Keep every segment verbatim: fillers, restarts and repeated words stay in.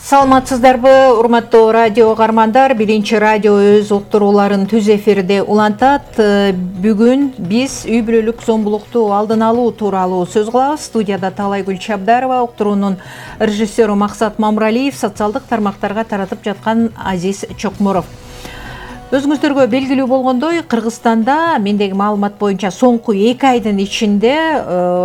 Саламатсыздарбы, урматтуу радио кармандар. Биринчи радио өз уктурууларын түз эфирде улантат. Бүгүн биз үй бүлөлүк зомбулукту алдын алуу тууралуу сөз кылабыз. Студияда Талайгүл Чабдарова, уктуруунун режиссеру Максат Мамралиев, социалдык тармактарга таратып жаткан Азиз Чокморов. Өзүңүздөргө белгилүү болгондой, Кыргызстанда мендеги маалымат боюнча соңку эки айдын ичинде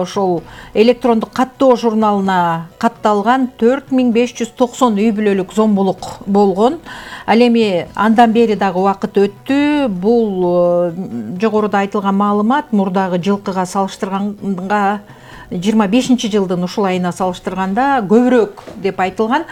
ошол электрондук каттоо журналына катталган төрт миң беш жүз токсон үй бүлөлүк зомбулук болгон. Ал эми андан бери дагы убакыт өттү. Бул жогоруда айтылган маалымат мурдагы жылкыга салыштырганга, жыйырма бешинчи жылдын ушул айына салыштырганда көбүрөөк деп айтылган.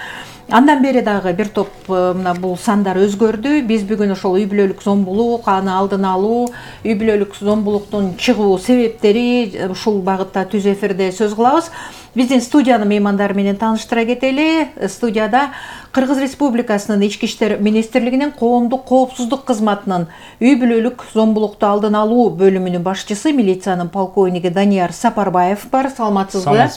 Андан бери дагы бир топ мына бул сандар өзгөрдү. Биз бүгүн ошол үй бүлөлүк зомбулук, аны алдын алуу, үй бүлөлүк зомбулуктун чыгуу себептери ушул багытта түз эфирде сөз кылабыз. Биздин студиянын меймандары менен тааныштыра кетели. Студияда Кыргыз Республикасынын Ички иштер министрлигинин коомдук коопсуздук кызматынын үй бүлөлүк зомбулукту алдын алуу бөлүмүнүн башчысы, милициянын полковниги Данияр Сапарбаев бар. Саламатсызбы?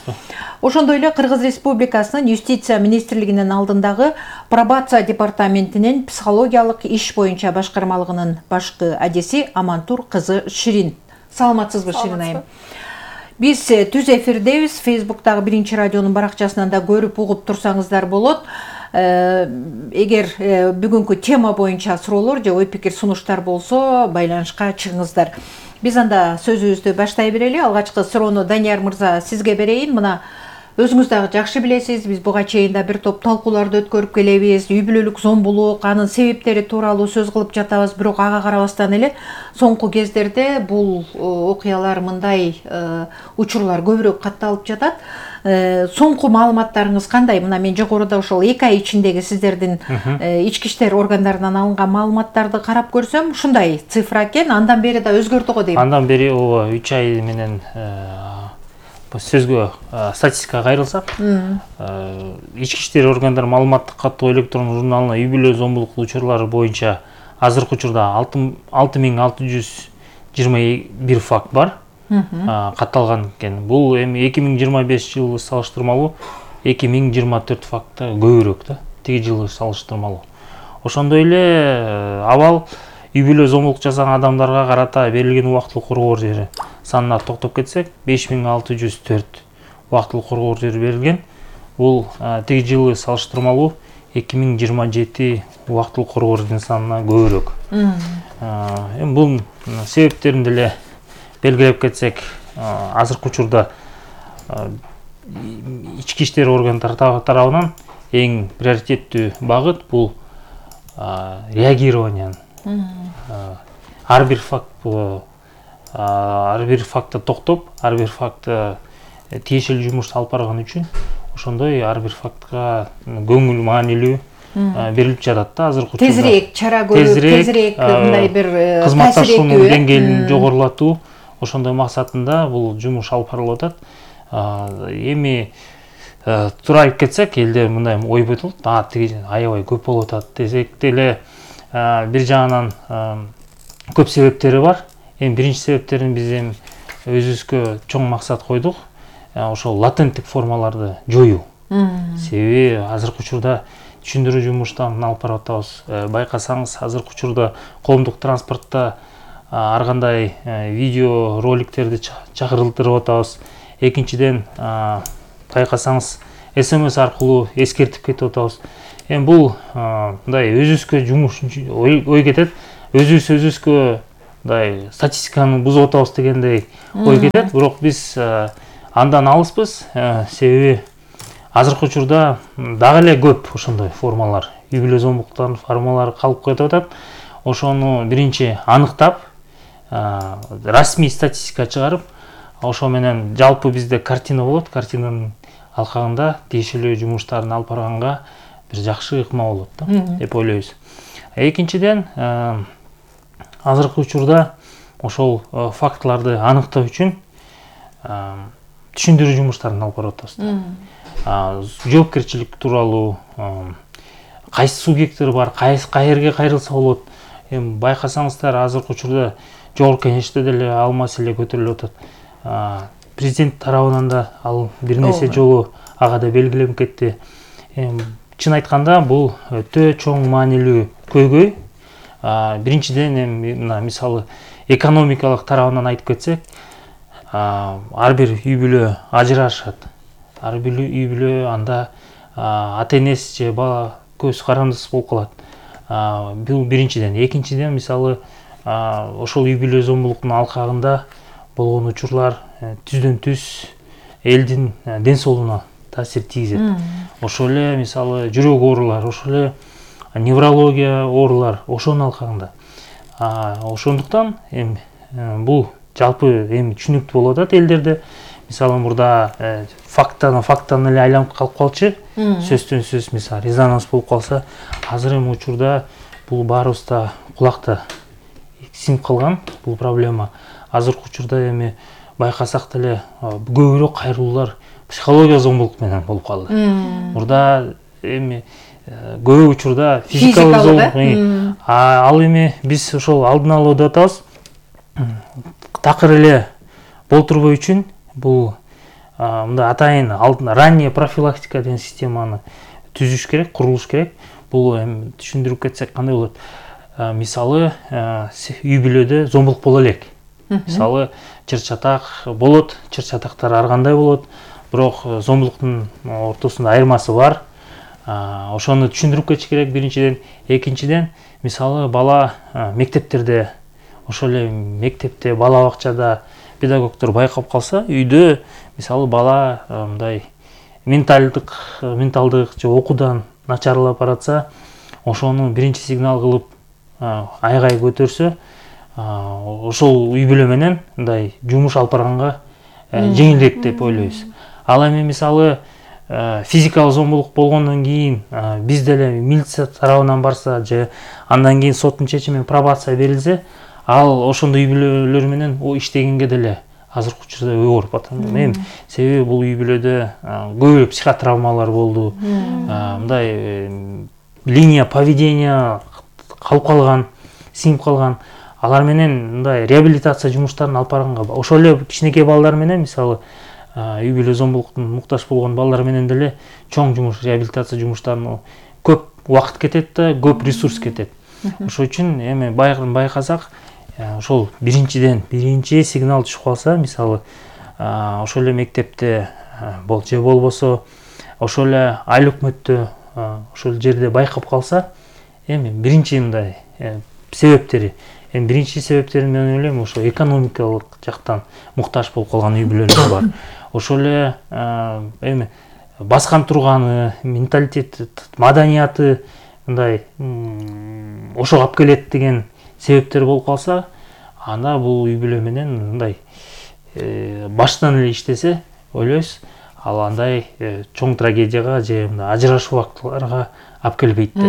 Ошондой эле Кыргыз Республикасынын Юстиция министрлигинин алдындагы пробация департаментинин психологиялык иш боюнча башкармалыгынын башкы адиси Амантур кызы Ширин. Саламатсызбы, Ширин айым? Биз түз эфирдебиз. Фейсбуктагы Биринчи радионун баракчасынан да көрүп угуп турсаңыздар болот. Эгер бүгүнкү тема боюнча суроолор же ой пикир сунуштар болсо, байланышка чыгыңыздар. Биз анда сөзүбүздү баштай берели. Алгачкы суроону Данияр мырза сизге берейин. Мына өзүңүз дагы жакшы билесиз, биз буга чейин да бир топ талкууларды өткөрүп келебиз. Үй бүлөлүк зомбулук, анын себептери тууралуу сөз кылып жатабыз, бирок ага карабастан эле соңку кездерде бул окуялар, мындай учурлар көбүрөөк катталып жатат. Соңку маалыматтарыңыз кандай? Мына мен жогоруда ошол эки ай ичиндеги сиздердин ички иштер органдарынан алынган маалыматтарды карап көрсөм, ушундай цифра экен. Андан бери да өзгөрдү го дейм. Андан бери ооба үч ай менен сөзгө статистикага кайрылсак, ички иштер органдары маалыматтык каттоо электрондук журналына үй бүлө зомбулук учурлары боюнча азыркы учурда алты миң алты жүз жыйырма бир факт бар катталган экен. Бул эми эки миң жыйырма бешинчи жылы салыштырмалуу эки миң жыйырма төрт факта көбүрөөк да, тиги жылы салыштырмалуу. Ошондой эле абал үй бүлө зомбулук жасаган адамдарга карата берилген убактылык коргоо жери санына токтоп кетсек, беш миң алты жүз төрт убактылык коргоо жери берилген. Бул тиги жылы салыштырмалуу эки миң жыйырма жети убактылык коргоо жеринин санына көбүрөөк. Эми бул себептерин деле белгилеп кетсек, азыркы учурда ички иштер органдары тарабынан эң приоритеттүү багыт бул реагирование. Ар бир факт ар бир фактты токтоп, ар бир фактты тиешелүү жумуш алып барган үчүн ошондой ар бир фактка көңүл маанилүү берилип жатат да азыркы учурда. Тезирээк чара көрүп, тезирээк мындай бир кызматташуунун деңгээлин жогорулатуу, ошондой максатында бул жумуш алып барылып атат. Эми туура айтып кетсек, элде мындай ой болот, а тиги аябай көп болуп атат десек деле, бир жагынан көп себептери бар. Эми биринчи себептерин биз эми өзүбүзгө чоң максат койдук. Ошол латенттик формаларды жоюу. Себеби азыркы учурда түшүндүрүү жумуштарын алып барып атабыз. Байкасаңыз, азыркы учурда коомдук транспортто ар кандай видео роликтерди чакырылтырып атабыз. Экинчиден, байкасаңыз, эс эм эс аркылуу эскертип кетип атабыз. Эми бул мындай өзүбүзгө жумуш ой кетет. Өзүбүз өзүбүзгө мындай статистиканы бузуп атабыз дегендей ой кетет. Бирок биз андан алыспыз. Себеби азыркы учурда дагы эле көп ошондой формалар, үй бүлө зомбулуктарынын формалары калып кетип атат. Ошону биринчи аныктап, расмий статистика чыгарып, ошо менен жалпы бизде картина болот. Картинанын алкагында тиешелүү жумуштарын алып барганга бир жакшы ыкма болот да, деп ойлойбуз. Экинчиден, азыркы учурда ошол фактыларды аныктоо үчүн түшүндүрүү жумуштарын алып барып атабыз. Жоопкерчилик тууралуу, кайсы субъекттер бар, каерге кайрылса болот. Эми байкасаңыздар, азыркы учурда жогорку кеңеште деле ал маселе көтөрүлүп атат. Президент тарабынан да ал бир нече жолу ага да белгиленип кетти. чын айтканда бул өтө чоң маанилүү көйгөй. Биринчиден эми мына мисалы экономикалык тарабынан айтып кетсек, ар бир үй бүлө ажырашат. Ар бир үй бүлө анда ата-энеси же бала көз карандысыз болуп калат. Бул биринчиден. Экинчиден мисалы ошол үй бүлө зомбулуктун алкагында болгон учурлар түздөн түз элдин ден соолугуна таасир тийгизет. Ошол эле мисалы жүрөк оорулар, ошол эле неврология оорулар ошонун алкагында. Ошондуктан эми бул жалпы эми түшүнүктүү болуп атат элдерде. Мисалы мурда фактан фактан эле айланып калып калчу. Сөздөн сөз мисалы резонанс болуп калса, азыр эми учурда бул баарыбызда кулакта сиңип калган бул проблема. Азыркы учурда эми байкасак деле көбүрөөк кайрылуулар психология зомбулук менен болуп калды. Мурда эми көп учурда физикалык зомбулук, ал эми биз ошол алдын алуу деп атабыз. Такыр эле болтурбой үчүн бул мындай атайын алдын ранняя профилактика деген системаны түзүш керек, курулуш керек. Бул эми түшүндүрүп кетсек кандай болот? Мисалы үй бүлөдө зомбулук боло элек. Мисалы чыр-чатак болот, чыр-чатактар ар кандай болот, бирок зомбулуктун ортосунда айырмасы бар. Ошону түшүндүрүп кетиш керек биринчиден. Экинчиден, мисалы бала мектептерде, ошол эле мектепте, бала бакчада педагогдор байкап калса, үйдө мисалы бала мындай менталдык, менталдык же окуудан начарлап баратса, ошону биринчи сигнал кылып айгай көтөрсө, ошол үй бүлө менен мындай жумуш алып барганга жеңилдирээк деп ойлойбуз. Ал эми мисалы физикалык зомбулук болгондон кийин биз деле милиция тарабынан барса же андан кийин соттун чечими пробация берилсе, ал ошондой үй бүлөлөр менен о иштегенге деле азыркы учурда оор батам. Эми себеби бул үй бүлөдө көп психотравмалар болду. Мындай линия поведения калып калган, сиңип калган. Алар менен мындай реабилитация жумуштарын алып барганга, ошол эле кичинекей балдар менен мисалы үй бүлө зомбулуктун муктаж болгон балдар менен деле чоң жумуш, реабилитация жумуштарына көп убакыт кетет да, көп ресурс кетет. Ошол үчүн эми байкасак, ошол биринчиден биринчи сигнал түшүп калса, мисалы ошол эле мектепте бол же болбосо ошол эле айыл өкмөттө ошол жерде байкап калса, эми биринчи мындай себептери, эми биринчи себептерин мен ойлойм, ошо экономикалык жактан муктаж болуп калган үй бүлөлөр бар. Ошол эле эми баскан турганы, менталитети, маданияты мындай ошого алып келет деген себептер болуп калса, анда бул үй бүлө менен мындай баштан эле иштесе, ойлойбуз, ал андай чоң трагедияга же мындай ажырашуу фактыларга алып келбейт деп.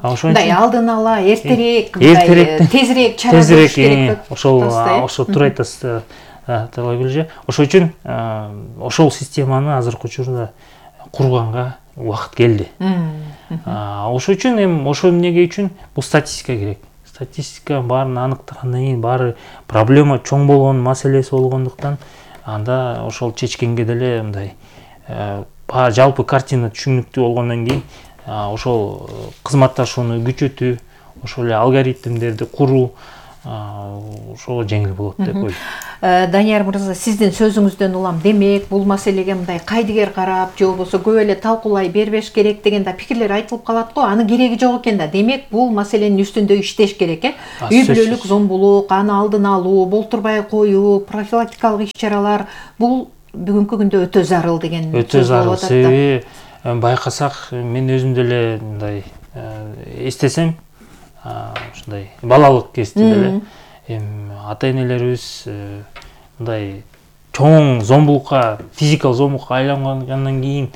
Мындай алдын ала эртерээк, мындай тезирээк чара көрүш керек. Ошол ошо туура айтасыз, Талайгүл. Ошол үчүн ошол системаны азыркы учурда курганга убакыт келди. Ошол үчүн эми ошол эмнеге үчүн бул статистика керек. Статистика баарын аныктагандан кийин баары проблема чоң болгон маселеси болгондуктан анда ошол чечкенге деле мындай жалпы картина түшүнүктүү болгондон кийин ошол кызматташууну күчөтүү, ошол эле алгоритмдерди куруу ошого жеңил болот деп ойлойм. Данияр мырза, сиздин сөзүңүздөн улам, демек бул маселеге мындай кайдыгер карап, же болбосо көп эле талкуулай бербеш керек деген да пикирлер айтылып калат го. Аны кереги жок экен да. Демек бул маселенин үстүндө иштеш керек, э? Үй бүлөлүк зомбулук, аны алдын алуу, болтурбай коюу, профилактикалык иш-чаралар бул бүгүнкү күндө өтө зарыл деген сөз болуп атат да. Себеби байкасак, мен өзүм деле мындай эстесем, ушундай балалык кезде деле эми ата-энелерибиз мындай чоң зомбулукка, физикалык зомбулукка айлангандан кийин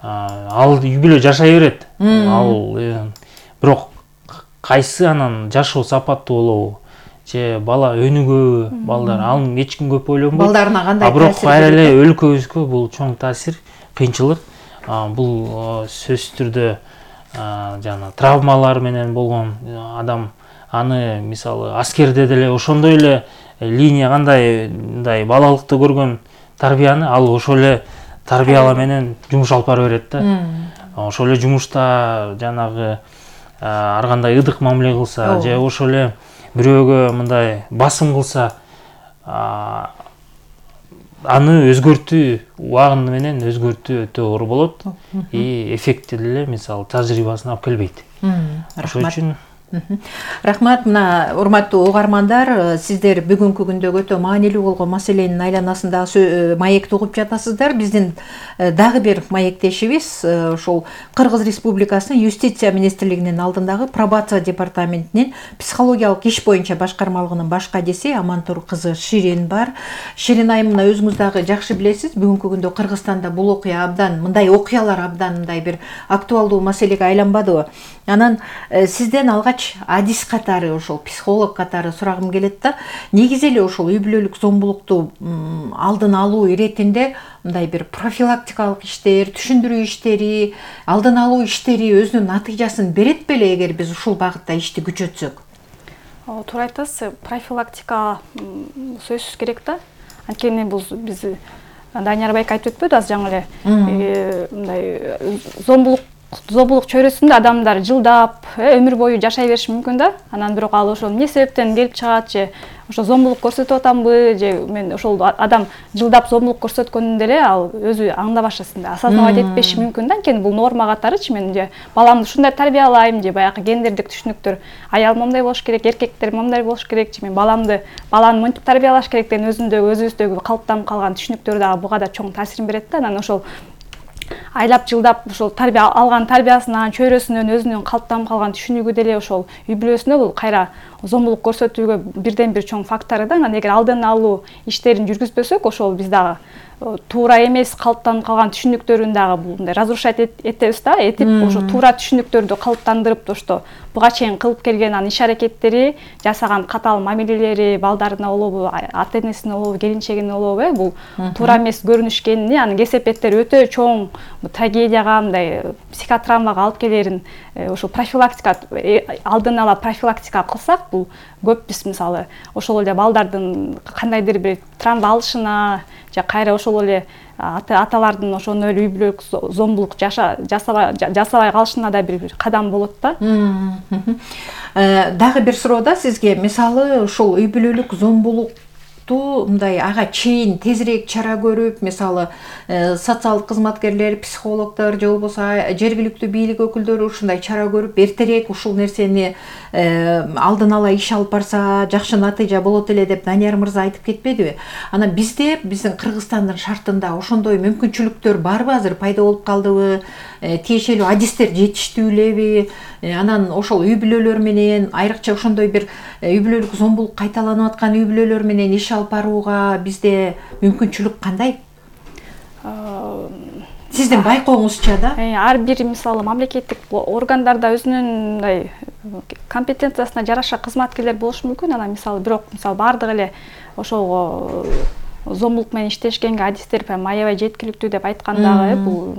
ал үй бүлө жашай берет. Ал бирок кайсы анан жашоо сапаттуу болобу, же бала өнүгөбү, балдар аны эч ким көп ойлонбойт. Балдарына кандай таасир берет? Бирок айры эле өлкөбүзгө бул чоң таасир, кыйынчылык. Бул сөзсүз түрдө жана травмалар менен болгон адам, аны мисалы аскерде деле ошондой эле линия кандай мындай балалыкта көргөн тарбияны ал ошол эле тарбияла менен жумуш алып бара берет да. ошол эле жумушта жанагы ар кандай ыдык мамиле кылса же ошол эле бирөөгө мындай басым кылса, аны өзгөртүү, убагы менен өзгөртүү өтө оор болот и эффекти деле мисалы тажрыйбасын алып келбейт. Ошол үчүн рахмат. Мына урматтуу угармандар, сиздер бүгүнкү күндөгү өтө маанилүү болгон маселенин айланасында маекти угуп жатасыздар. Биздин дагы бир маектешибиз ошол Кыргыз Республикасынын Юстиция министрлигинин алдындагы пробация департаментинин психологиялык иш боюнча башкармалыгынын баш кадиси Амантур кызы Ширин бар. Ширин айым, мына өзүңүз дагы жакшы билесиз, бүгүнкү күндө Кыргызстанда бул окуя абдан, мындай окуялар абдан мындай бир актуалдуу маселеге айланбадыбы? Анан сизден алгач адис катары, ошол психолог катары сурагым келет да. Негизи эле ошол үй бүлөлүк зомбулукту алдын алуу иретинде мындай бир профилактикалык иштер, түшүндүрүү иштери, алдын алуу иштери өзүнүн натыйжасын берет беле эгер биз ушул багытта ишти күчөтсөк? Туура айтасыз, профилактика сөзсүз керек да. Анткени бул биз Данияр байке айтып өтпөдү азыр жаңы эле, мындай зомбулук зомбулук чөйрөсүндө адамдар жылдап, өмүр бою жашай бериши мүмкүн да. Анан бирок ал ошол эмне себептен келип чыгат, же ошо зомбулук көрсөтүп атамбы, же мен ошол адам жылдап зомбулук көрсөткөндө эле ал өзү аңдабашасында осознавать этпеши мүмкүн да. Анткени бул норма катарычы, мен же баламды ушундай тарбиялайм, же баягы гендердик түшүнүктөр, аял моундай болуш керек, эркектер моундай болуш керек, же мен баламды баланы монтип тарбиялаш керек деген өзүндөгү өзүбүздөгү калыптанып калган түшүнүктөр дагы буга да чоң таасирин берет да. Анан ошол айлап жылдап ошол тарбия алган тарбиясынан, чөйрөсүнөн өзүнүн калыптанып калган түшүнүгү деле ошол үй бүлөсүнө бул кайра зомбулук көрсөтүүгө бирден бир чоң фактору да. Анан эгер алдын алуу иштерин жүргүзбөсөк, ошол биз дагы туура эмес калыптанып калган түшүнүктөрүн дагы мындай разрушать этебиз да, этип ошо туура түшүнүктөрдү калыптандырып, ошто буга чейин кылып келген анын иш аракеттери, жасаган катаал мамилелери, балдарына болобу, ата энесине болобу, келинчегине болобу, бул туура эмес көрүнүшкени, анын кесепеттери өтө чоң трагедияга, мындай психотравмага алып келерин ошо профилактика, алдын ала профилактика кылсак, бул көп биз мисалы ошол эле балдардын кандайдыр бир травма алышына, же кайра ошол эле аталардын ошону эле үй бүлөлүк зомбулук жасабай калышына да бир кадам болот да. Дагы бир суроо да сизге, мисалы ошол үй бүлөлүк зомбулукту мындай ага чейин тезирээк чара көрүп, мисалы социалдык кызматкерлер, психологдор же болбосо жергиликтүү бийлик өкүлдөрү ушундай чара көрүп, эртерээк ушул нерсени алдын ала иш алып барса жакшы натыйжа болот эле деп Данияр мырза айтып кетпедиби? Анан бизде, биздин Кыргызстандын шартында ошондой мүмкүнчүлүктөр барбы, азыр пайда болуп калдыбы? Тиешелүү адистер жетиштүү элеби? Анан ошол үй бүлөлөр менен, айрыкча ошондой бир үй бүлөлүк зомбулук кайталанып аткан үй бүлөлөр менен иш алып барууга бизде мүмкүнчүлүк кандай? Сиздин байкооңузча да? Ар бир мисалы мамлекеттик органдарда өзүнүн мындай компетенциясына жараша кызматкерлер болушу мүмкүн. Анан мисалы бирок мисалы бардыгы эле ошол зомбулук менен иштешкенге адистер прям аябай жеткиликтүү деп айткандагы бул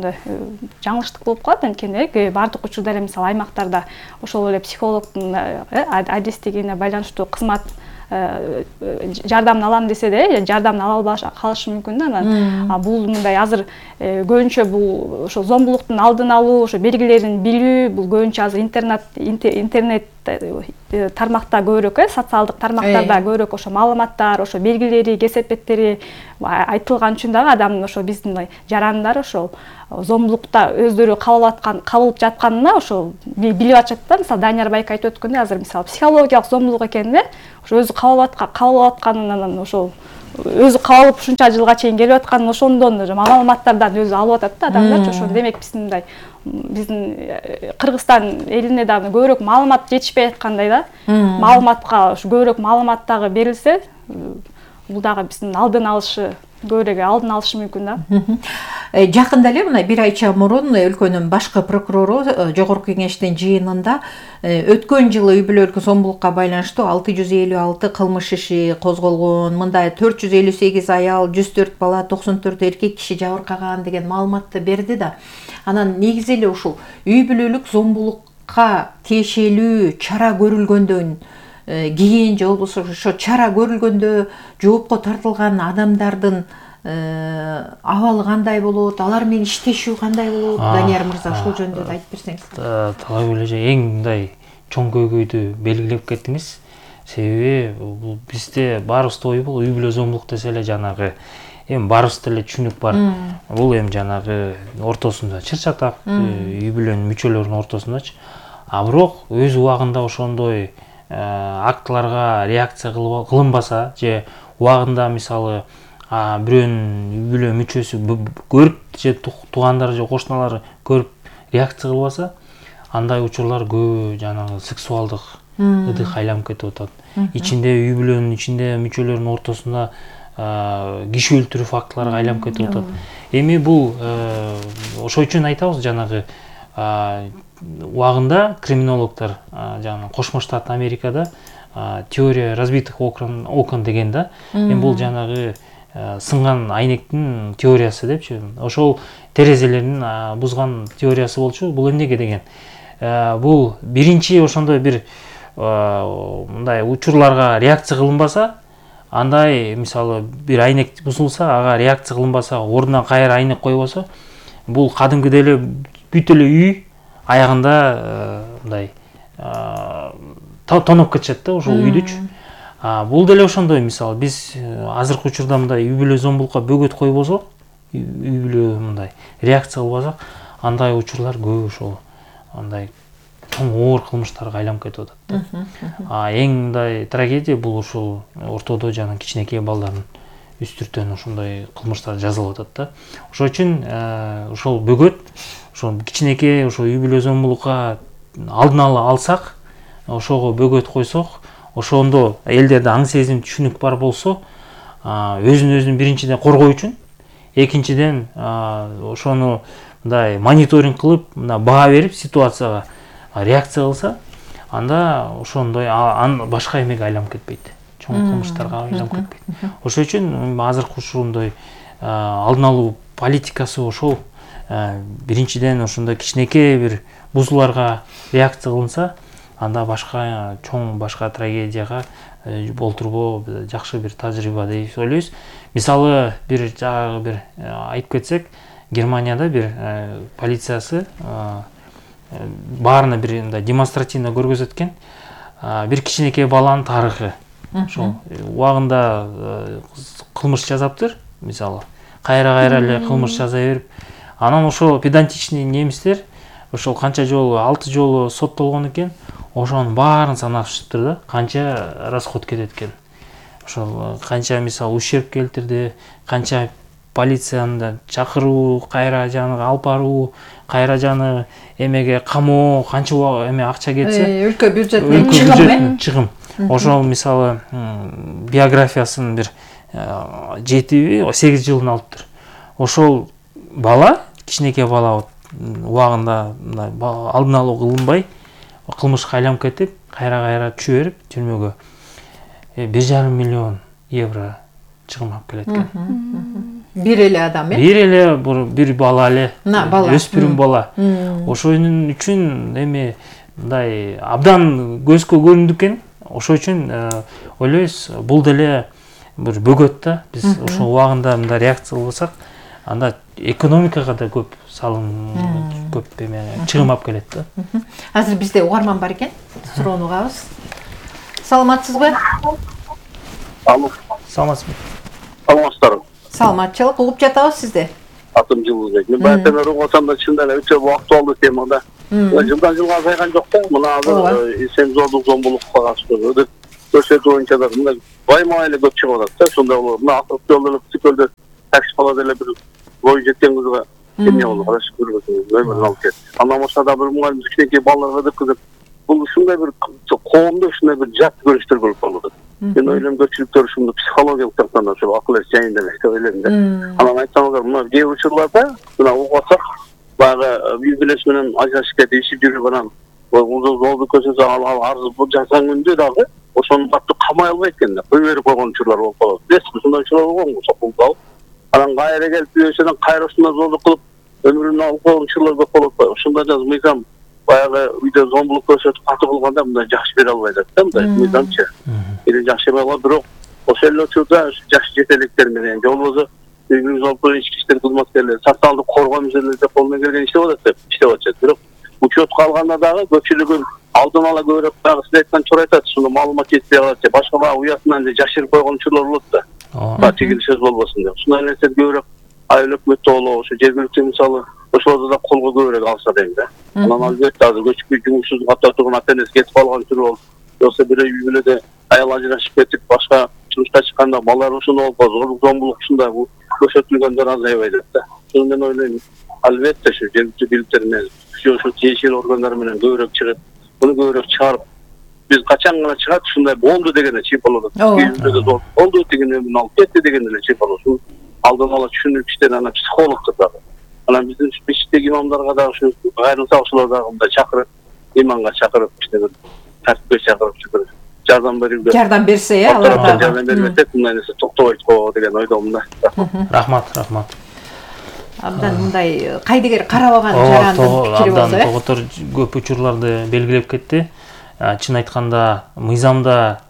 жаңылыштык болуп калат. Анткени бардык учурда эле мисалы аймактарда ошол эле психологдун адистигине байланыштуу кызмат жардамын алам десе де жардамын ала албаш калышы мүмкүн да. Анан бул мындай азыр көбүнчө бул ошо зомбулуктун алдын алуу, ошо белгилерин билүү, бул көбүнчө азыр интернет интернет тармакта көбүрөөк, социалдык тармактарда көбүрөөк ошо маалыматтар, ошо белгилери, кесепеттери айтылган үчүн дагы адам ошо биздин жарандар ошол зомбулукта өздөрү кабыл аткан кабылып жатканына ошол билип атышат да. Мисалы Данияр байке айтып өткөндөй, азыр мисалы психологиялык зомбулук экенин ошо өзү кабыл кабыл атканынан, ошол өзү кабылып ушунча жылга чейин келип атканын ошондон маалыматтардан өзү алып атат да адамдар. Ошо демек биздин мындай биздин Кыргызстан элине дагы көбүрөөк маалымат жетишпей аткандай да. Маалыматка ушу көбүрөөк маалымат дагы берилсе, бул дагы биздин алдын алышы көбүрөөк алдын алышы мүмкүн да. Жакында эле мына бир айча мурун өлкөнүн башкы прокурору Жогорку кеңештин жыйынында өткөн жылы үй бүлөлүк зомбулукка байланыштуу алты жүз элүү алты кылмыш иши козголгон, мында төрт жүз элүү сегиз аял, жүз төрт бала, токсон төрт эркек киши жабыркаган деген маалыматты берди да. Анан негизи эле ушул үй бүлөлүк зомбулукка тиешелүү чара көрүлгөндөн кийин же болбосо ошо чара көрүлгөндө жоопко тартылган адамдардын абалы кандай болот, алар менен иштешүү кандай болот? Данияр мырза, ошол жөнүндө да айтып берсеңиз. Талай эле эң мындай чоң көйгөйдү белгилеп кеттиңиз. Себеби бул бизде баарыбызда ой бул үй бүлө зомбулук десе эле жанагы эми баарыбызда эле түшүнүк бар. Бул эми жанагы ортосунда чыр-чатак үй бүлөнүн мүчөлөрүнүн ортосундачы. А бирок өз убагында ошондой актыларга реакция кылынбаса же убагында мисалы бирөөнүн үй бүлө мүчөсү көрүп же туугандары же кошуналары көрүп реакция кылбаса, андай учурлар көбү жанагы сексуалдык ыдык айланып кетип атат. Ичинде үй бүлөнүн ичинде мүчөлөрүнүн ортосунда киши өлтүрүү фактыларга айланып кетип атат. Эми бул ошол үчүн айтабыз жанагы убагында криминологдор жана Кошмо Штат Америкада теория разбитых окон окон деген да. Эми бул жанагы сынган айнектин теориясы депчи. Ошол терезелердин бузган теориясы болчу. Бул эмнеге деген? Бул биринчи ошондой бир мындай учурларга реакция кылынбаса, андай мисалы бир айнек бузулса, ага реакция кылынбаса, ордуна кайра айнек койбосо, бул кадимкидей эле бүт эле үй аягында мындай тоноп кетишет да ошол үйдүчү. Бул деле ошондой мисалы биз азыркы учурда мындай үй бүлө зомбулукка бөгөт койбосок, үй бүлө мындай реакция кылбасак, андай учурлар көп ошол андай чоң оор кылмыштарга айланып кетип атат. А эң мындай трагедия бул ушул ортодо жана кичинекей балдардын үстүртөн ошондой кылмыштар жазылып атат да. Ошол үчүн ошол бөгөт ошол кичинекей ошол үй бүлө зомбулукка алдын ала алсак, ошого бөгөт койсок, ошондо элдерде аң сезим түшүнүк бар болсо, өзүн өзүн биринчиден коргоо үчүн, экинчиден ошону мындай мониторинг кылып, мына баа берип ситуацияга реакция кылса, анда ошондой башка эмеге айланып кетпейт. Чоң кылмыштарга айланып кетпейт. Ошол үчүн азыркы ушундай алдын алуу политикасы ошол биринчиден ошондой кичинекей бир бузууларга реакция кылынса, анда башка чоң башка трагедияга болтурбоо жакшы бир тажрыйба деп ойлойбуз. Мисалы бир жагы бир айтып кетсек, Германияда бир полициясы баарына бир мындай демонстративно көргөзөт экен. Бир кичинекей баланын тарыхы. Ошол убагында кылмыш жасаптыр, мисалы. Кайра-кайра эле кылмыш жасай берип, анан ошол педантичный немистер ошол канча жолу, алты жолу соттолгон экен. Ошонун баарын санап чыктыр да, канча расход кетет экен. Ошол канча мисалы ущерб келтирди, канча полицияны чакыруу, кайра жаны алып баруу, кайра жаны эмеге камоо, канча эме акча кетсе, өлкө бюджетинен чыгым. Ошол мисалы биографиясын бир жети сегиз жылын алыптыр. Ошол бала, кичинекей бала убагында алдын алуу кылынбай, кылмышка айланып кетип, кайра-кайра түшө берип, түрмөгө бир жарым миллион евро чыгым алып келет экен. Бир эле адам, э? Бир эле бир бала эле, өспүрүм бала. Ошонун үчүн эми мындай абдан көзгө көрүндү экен. Ошол үчүн ойлойбуз, бул деле бир бөгөт да. Биз ошол убагында мындай реакция кылсак, анда экономикага да көп салым, көп эме чыгым алып келет да. Азыр бизде угарман бар экен. Суроону угабыз. Саламатсызбы? Алло. Саламатсызбы? Саламатсыздарбы? Саламатчылык, угуп жатабыз сизди. Атым Жылдызбек. Мен баатан угасам да чындап эле өтө актуалдуу тема да. Жылдан жылга азайган жок да. Мына азыр сензордук зомбулукка катыштуу өтөт көрсөтүү боюнча да мындай баймай эле көп чыгып атат да. Сонда болот. Мына автожолдор цикөлдө такси калат эле бир бою жеткен кызга эмне болду, караш көрбөсөң, өмүрүн алып кетти. Андан башка да бир мугалим кичинекей балдарга деп кызып, бул ушундай бир коомдо ушундай бир жат көрүнүштөр болуп калды. Мен ойлойм көпчүлүктөр ушуну психологиялык жактан ошо акыл эс жайында эле деп ойлойм да. Анан айтсаңыздар, мына кээ бир учурларда мына угасак, баягы үй бүлөсү менен ажырашып кетип иши жүрүп анан жолду көрсөтсө ал арыз жасаганда дагы ошону катты камай албайт экен да. Кой берип койгон учурлар болуп калат. Эсми ушундай учурлар болгонго сокулуп алып, анан кайра келип үйөсүнөн кайра ушундай зоолдук кылып өмүрүн алып койгон учурлар көп болуп калат. Ошондо да мыйзам баягы үйдө зомбулук көрсөтүп катуу кылганда мындай жакшы бере албайт да, мындай мыйзамчы. Эли жакшы эме болот, бирок ошол эле учурда жаш жетеликтер менен же болбосо үй-бүлөлүк ички иштер кызматкерлери социалдык коргоо мезгилинде колунан келген иштеп атат деп иштеп атышат. Бирок учетко алганда дагы көпчүлүгү алдын ала көбүрөөк дагы сиз айткан чор айтат, ушуну маалымат жетпей калат же башка дагы уятынан же жашырып койгон учурлар болот да. Ооба, чегил сөз болбосун деп. Ушундай нерсе көбүрөөк айыл өкмөттө болобу, ошо жергиликтүү мисалы ошолорду да колго көбүрөөк алса дейм да. Анан албетте азыр көчүп жумушсуз катар турган ата-энеси кетип калган түрү болуп, болсо бир үй бүлөдө аял ажырашып кетип, башка жумушка чыкканда балдар ушуну болуп, зорлук зомбулук ушундай көрсөтүлгөндөр азайбай атат да. Ошону мен ойлойм, албетте ушу жергиликтүү бийликтер менен, ушу тиешелүү органдар менен көбүрөөк чыгып, буну көбүрөөк чыгарып, биз качан гана чыгат ушундай болду дегенде чыйып болот. Ооба. Болду дегенде муну алып кетти дегенде эле чыйып болот. Алдын ала түшүнүп иштер анан психологдор дагы. Анан биздин мечиттеги имамдарга дагы ушу кайрылса ошолор дагы мындай чакырып, иманга чакырып, иште бир тартипке чакырып, бир жардам берүүгө. Жардам берсе, э, алар дагы жардам бербесек, мындай нерсе токтобойт го деген ойдомун да. Рахмат, рахмат. Абдан мындай кайдыгер карабаган жарандын пикири болду, э. Абдан тоготор көп учурларды белгилеп кетти. Чын айтканда, мыйзамда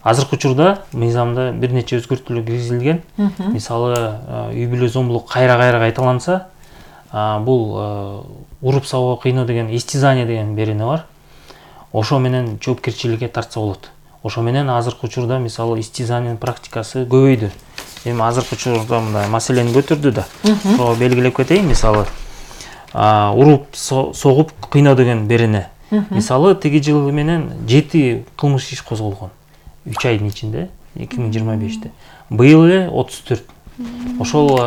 азыркы учурда мыйзамда бир нече өзгөртүүлөр киргизилген. Мисалы, үй-бүлө зомбулук кайра-кайра кайталанса, бул уруп сабоо кыйноо деген истизание деген берене бар. Ошо менен жоопкерчиликке тартса болот. Ошо менен азыркы учурда мисалы истизаниянын практикасы көбөйдү. Эми азыркы учурда мындай маселени көтөрдү да. Ошо белгилеп кетейин, мисалы, уруп согуп кыйноо деген берене. Мисалы, тиги жыл менен жети кылмыш иш козголгон. үч айдын ичинде, эки миң жыйырма беште. Быйыл эле отуз төрт. Ошол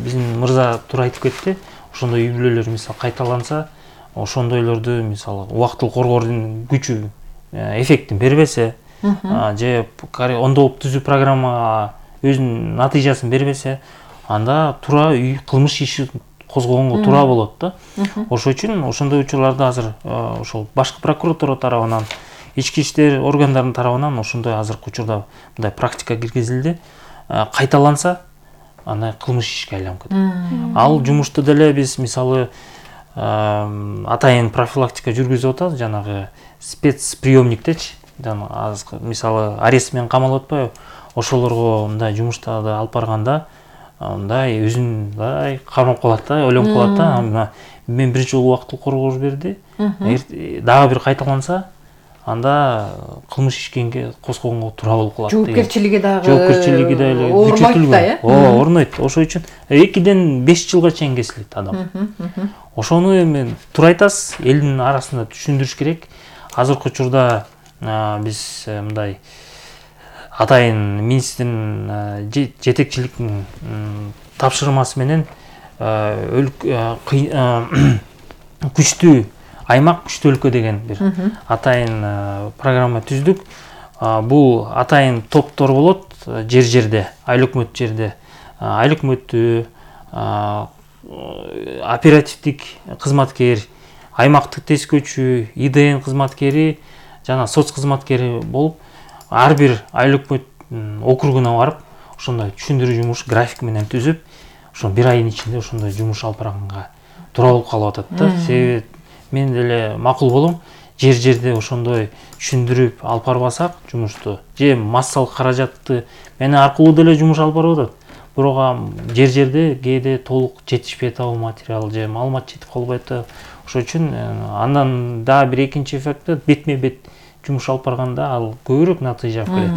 биздин мырза туура айтып кетти. Ошондой үй-бүлөлөр мисалы кайталанса, ошондойлорду мисалы убактылык коргоодун күчү, эффектин бербесе, же ондоп түзүү программа өзүнүн натыйжасын бербесе, анда туура кылмыш иши козгогонго туура болот да. Ошол үчүн ошондой учурларда азыр ошол башкы прокуратура тарабынан, ички иштер органдарынын тарабынан ошондой азыркы учурда мындай практика киргизилди. Кайталанса, андай кылмыш ишке айланып кетет. Ал жумушту деле биз мисалы атайын профилактика жүргүзүп атабыз, жанагы спецприемниктечи. Мисалы арест менен камалып атпайбы? Ошолорго мындай жумуштарды алып барганда, мындай өзүн мындай кармап калат да, ойлонуп калат да. Мен бир жолу убактылык коргоо берди. Дагы бир кайталанса, анда кылмыш ишкенге козгогонго туура болуп калат. Жоопкерчилиги дагы жоопкерчилиги дагы күчөтүлгөн. Ооба, орнойт. Ошол үчүн экиден беш жылга чейин кесилет адам. Ошону эми туура айтасыз, элдин арасында түшүндүрүш керек. Азыркы учурда биз мындай атайын министрдин жетекчиликтин тапшырмасы менен күчтүү аймак, күчтүү өлкө деген бир атайын программа түздүк. Бул атайын топтор болот жер-жерде, айыл өкмөт жерде, айыл өкмөттүү, оперативдик кызматкер, аймактык тескөөчү, И Д Н кызматкери жана соц кызматкери болуп, ар бир айыл өкмөт округуна барып, ошондой түшүндүрүү жумуш график менен түзүп, ошо бир айдын ичинде ошондой жумуш алып барганга туура болуп калып атат да. Себеби мен деле макул болом, жер-жерде ошондой түшүндүрүп алып барбасак жумушту, же массалык каражатты мени аркылуу деле жумуш алып барып атат. Бирок жер-жерде кээде толук жетишпей атабы материал, же маалымат жетип калбай атабы. Ошол үчүн андан дагы бир экинчи эффекти бетме-бет жумуш алып барганда ал көбүрөөк натыйжа берет.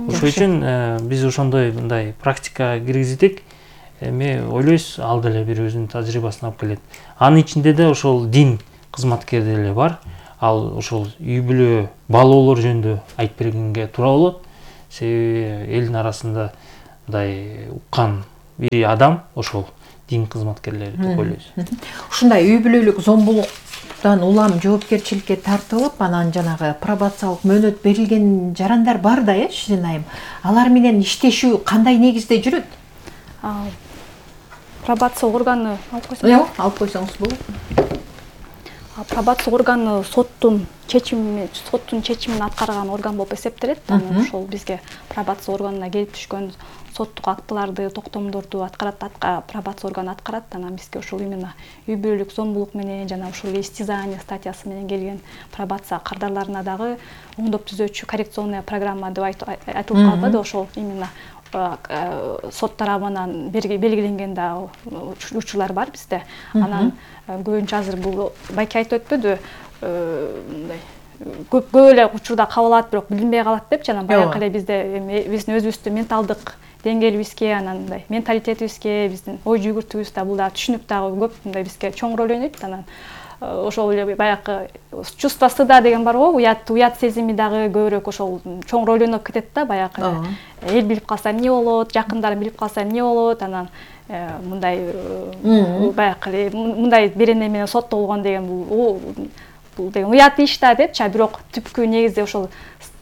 Ошол үчүн биз ошондой мындай практика киргиздик. Эми ойлойбуз, ал деле бир өзүнүн тажрыйбасын алып келет. Анын ичинде да ошол дин кызматкери деле бар. Ал ошол үй-бүлө баалоолор жөнүндө айтып бергенге туура болот. Себеби элдин арасында мындай уккан бир адам ошол дин кызматкерлери деп ойлойбуз. Ушундай үй-бүлөлүк зомбулуктан улам жоопкерчиликке тартылып, анан жанагы пробациялык мөөнөт берилген жарандар бар да, э, Ширин айым. Алар менен иштешүү кандай негизде жүрөт? Пробация органы алып койсоңуз. Жок, алып койсоңуз болот. Пробация органы соттун чечими, соттун чечимин аткарган орган болуп эсептелет. Анан ошол бизге пробация органына келип түшкөн соттук актыларды, токтомдорду аткарат, пробация органы аткарат. Анан бизге ошол именно үй-бүлөлүк зомбулук менен жана ошол истизание статьясы менен келген пробация кардарларына дагы оңдоп түзөөчү коррекционная программа деп айтылып калбады. Ошол именно сот тарабынан белгиленген да учурлар бар бизде. Анан көбүнчө азыр бул байке айтып өтпөдү, мындай көп көп эле учурда кабыл алат, бирок билинбей калат депчи. Анан баягы эле бизде биздин өзүбүздүн менталдык деңгээлибизге, анан мындай менталитетибизге, биздин ой жүгүртүүбүздө бул дагы түшүнүк дагы көп мындай бизге чоң роль ойнойт. Анан ошол эле баягы чувство стыда деген бар го, уят уят сезими дагы көбүрөөк ошол чоң роль ойноп кетет да. Баягы эл билип калса эмне болот, жакындарым билип калса эмне болот, анан мындай баягы мындай берене менен соттолгон деген бул бул деген уят иш да депчи. Бирок түпкү негизде ошол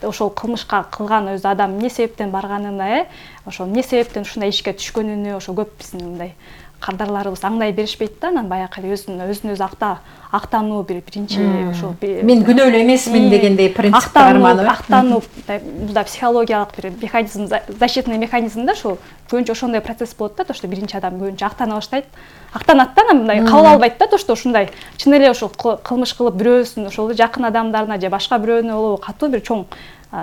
ошол кылмышка кылган өзү адам эмне себептен барганына, э ошол эмне себептен ушундай ишке түшкөнүнө ошо көп биздин мындай кардарларыбыз аңдай беришпейт да. Анан баягы өзүн өзүн өзү акта актануу бир биринчи ошол мен күнөөлүү эмесмин дегендей принцип барманып, актануу бул да психологиялык бир механизм, защитный механизм да. Ошол көбүнчө ошондой процесс болот да, то что биринчи адам көбүнчө актана баштайт, актанат да, анан мындай кабыл албайт да, то что ушундай чын эле ошол кылмыш кылып бирөөсүн ошол жакын адамдарына же башка бирөөнү болобу катуу бир чоң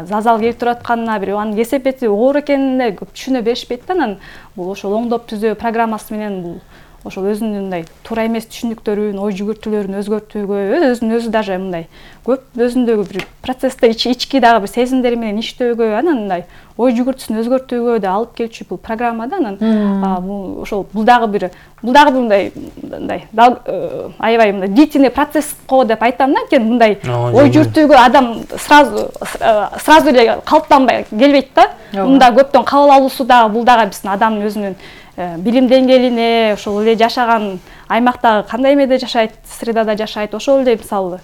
зазал келтирип атканына, бир анын кесепети оор экенине көп түшүнө беришпейт да. Анан бул ошол оңдоп түзөө программасы менен бул ошол өзүнүн мындай туура эмес түшүнүктөрүн, ой жүгүртүүлөрүн өзгөртүүгө, өзүн өзү даже мындай көп өзүндөгү бир процессте ички дагы бир сезимдери менен иштөөгө, анан мындай ой жүгүртүүсүн өзгөртүүгө да алып келчү бул программа да. Анан бул ошол бул дагы бир бул дагы бир мындай мындай аябай мындай длительный процесс го деп айтам да. Анткени мындай ой жүгүртүүгө адам сразу сразу эле калыптанбай келбейт да. Мында көптөн кабыл алуусу дагы бул дагы биздин адамдын өзүнүн билим деңгээлине, ошол эле жашаган аймактагы кандай эмеде жашайт, средада жашайт, ошол эле мисалы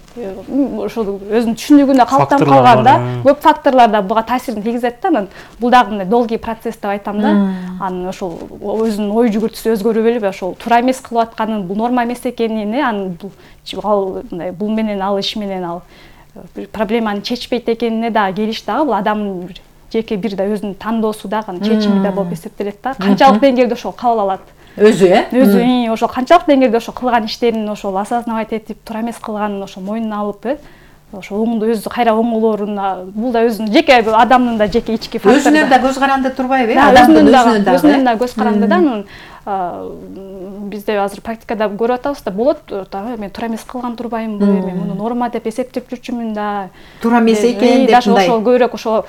ошол өзүнүн түшүнүгүнө калыптанып калганда көп факторлор да буга таасирин тийгизет да. Анан бул дагы мындай долгий процесс деп айтам да. Анан ошол өзүнүн ой жүгүртүүсү өзгөрүп эле ошол туура эмес кылып атканын, бул норма эмес экенин, анан бул мындай бул менен ал иш менен ал проблеманы чечпейт экенине дагы келиш дагы бул адамдын бир жеке бир да өзүнүн тандоосу дагы чечими да болуп эсептелет да. Канчалык деңгээлде ошол кабыл алат өзү, э өзү ошол канчалык деңгээлде ошол кылган иштерин ошол осознавать этип, туура эмес кылганын ошол мойнуна алып, э ошол оңду өзү кайра оңолоорун, бул да өзүнүн жеке адамдын да жеке ички фактор. Өзүнөн да көз каранды турбайбы, э адамдын өзүнөн да өзүнөн да көз каранды да. Анан бизде азыр практикада көрүп атабыз да, болот мен туура эмес кылган турбаймынбы, мен муну норма деп эсептеп жүрчүмүн да, туура эмес экен деп мындай ошол көбүрөөк ошол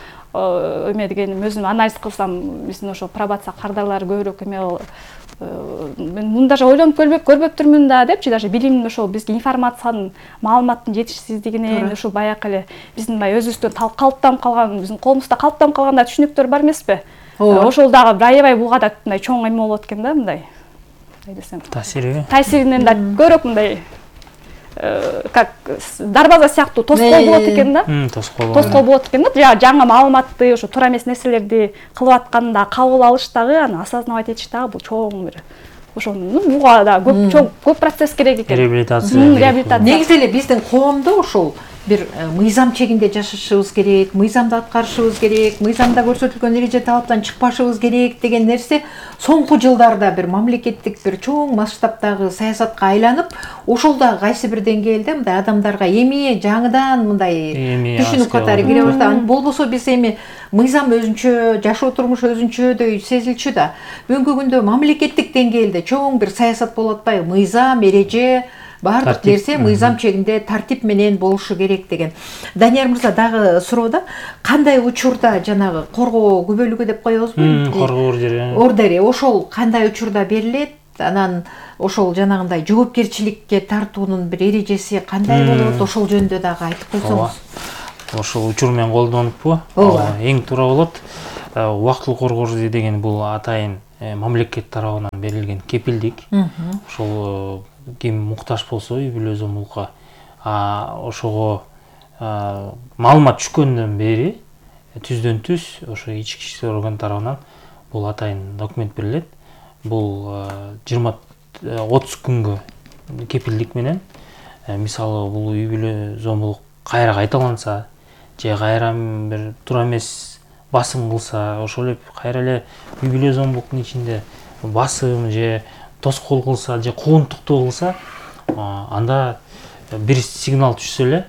эме дегеним өзүм анализ кылсам, биздин ошол пробация кардарлары көбүрөөк эме мен муну даже ойлонуп көрбөп көрбөптүрмүн да депчи. Даже билим ошол бизге информациянын, маалыматтын жетишсиздигинен ошол баягы эле биздин баягы өзүбүздөн калыптанып калган, биздин коомузда калыптанып калган да түшүнүктөр бар эмеспи? Ошол дагы бир аябай буга да мындай чоң эме болот экен да, мындай мындай десем таасири таасиринен да көбүрөөк мындай как дарбаза сыяктуу тоскоол болот экен да. Тоскоол тоскоол болот экен да. Жаңы маалыматты, ошо туура эмес нерселерди кылып атканда кабыл алыш дагы, аны осознавать этиш дагы бул чоң бир ошол буга да көп чоң көп процесс керек экен. Реабилитация. Реабилитация. Негизи эле биздин коомдо ошол бир мыйзам чегинде жашашыбыз керек, мыйзамды аткарышыбыз керек, мыйзамда көрсөтүлгөн эреже талаптан чыкпашыбыз керек деген нерсе соңку жылдарда бир мамлекеттик бир чоң масштабтагы саясатка айланып, ошол да кайсы бир деңгээлде мындай адамдарга эми жаңыдан мындай түшүнүк катары кире баштаган. Болбосо биз эми мыйзам өзүнчө, жашоо турмуш өзүнчөдөй сезилчү да. Бүгүнкү күндө мамлекеттик деңгээлде чоң бир саясат болуп атпайбы? Мыйзам, эреже, баардык нерсе мыйзам чегинде тартип менен болушу керек деген. Данияр мырза дагы суроо да, кандай учурда жанагы коргоо күбөлүгү деп коебузбу? Коргоо ордери. Ордери ошол кандай учурда берилет? Анан ошол жанагындай жоопкерчиликке тартуунун бир эрежеси кандай болот? Ошол жөнүндө дагы айтып койсоңуз. Ошол учур менен колдонуппу? Эң туура болот. Убактылуу коргоо ордери деген бул атайын мамлекет тарабынан берилген кепилдик. Ошол ким муктаж болсо үй бүлө зомбулукка ошого маалымат түшкөндөн бери түздөн түз ошо ички иштер орган тарабынан бул атайын документ берилет. Бул жыйырма отуз күнгө кепилдик менен, мисалы бул үй бүлө зомбулук кайра кайталанса же кайра бир туура эмес басым кылса, ошол эле кайра эле үй бүлө зомбулуктун ичинде басым же тоскоол кылса же куугунтуктуу кылса, анда бир сигнал түшсө эле